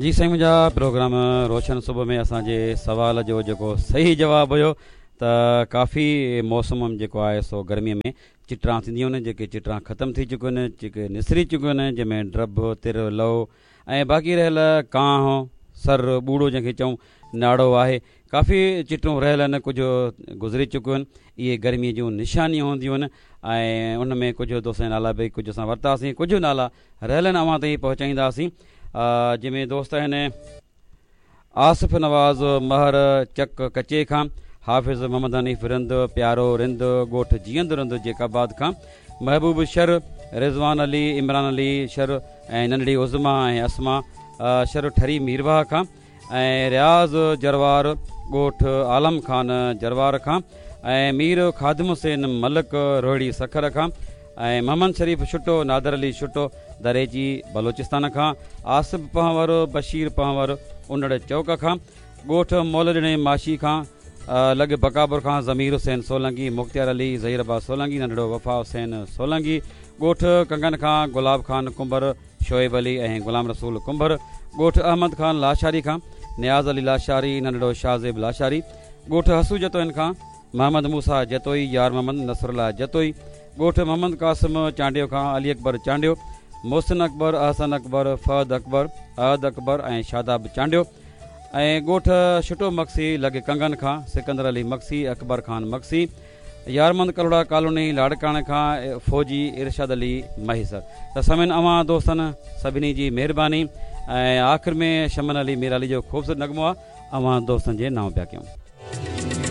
جي سائين منهنجا پروگرام روشن صبح ۾ اسان جي سوال جو جيڪو صحيح جواب هيو ته ڪافي موسم جيڪو آهي سو گرمي ۾ چٽران ٿينديون آهن جيڪي چٽران ختم ٿي چڪيون آهن جيڪي نسري چڪيون آهن جنهن ۾ ڊڀ تر لئو ۽ باقي رهيل ڪانهه سر ٻوڙو جنهن کي چئون ناڙو آهي ڪافي چٽون رهيل آهن ڪجهه گذري چڪيون آهن اهي گرمي جون نشانيون هونديون آهن ۽ ان ۾ ڪجهه دوستن جا نالا به ڪجهه اسان ورتاسين ڪجهه نالا رهيل آهن اوهان تائين پهچائينداسين جنهن ۾ دوست آهن آصف نواز مهر چڪ ڪچي کان حافظ محمد حنيف رند پيارو رند ڳوٺ جيئند رند جيڪب آباد کان محبوب شر رضوان علي عمران علي شر ۽ ننڍڙي عظما ۽ اسما شر ٺري ميرواهه کان ۽ رياض جروار ڳوٺ عالم خان جروار کان ۽ مير خادم حسين ملڪ روهڙي سکر کان ۽ محمد شريف شٽو نادر علي شٽو دريجي بلوچستان کان آصف پنهور بشير پنهور انڙ چوڪ کان ڳوٺ مولڏڻي ماشي کان لڳ بقاپور کان ضمير حسين سولنگي مختيار علي ظهير عباس سولنگي ننڍڙو وفا حسين سولنگي ڳوٺ ڪنگن کان گلاب خان ڪنڀر شعيب علي ۽ غلام رسول ڪنڀر، ڳوٺ احمد خان لاشاري کان نياز علي لاشاري، ننڍڙو شاهزيب لاشاري، ڳوٺ حسو جتوئين کان محمد موسيٰ جتوئي، يار محمد نصرالله جتوئي، ڳوٺ محمد قاسم چانڊيو کان علي اڪبر چانڊيو، محسن اڪبر، احسن اڪبر، فهد اڪبر، احد اڪبر ۽ شاداب چانڊيو ۽ ڳوٺ شٽو مگسي لڳ ڪنگن کان سڪندر علي مگسي، اڪبر خان مگسي، يارمند ڪلهوڙا ڪالوني لاڙڪاڻي کان فوجي ارشاد علي مهيسر ته سامعين اوهان دوستن سڀني جي مهرباني ۽ آخر ۾ شمن علي ميرالي جو خوبصورت نغمو آ اوهان دوستن جي نانء پيا ڪيون.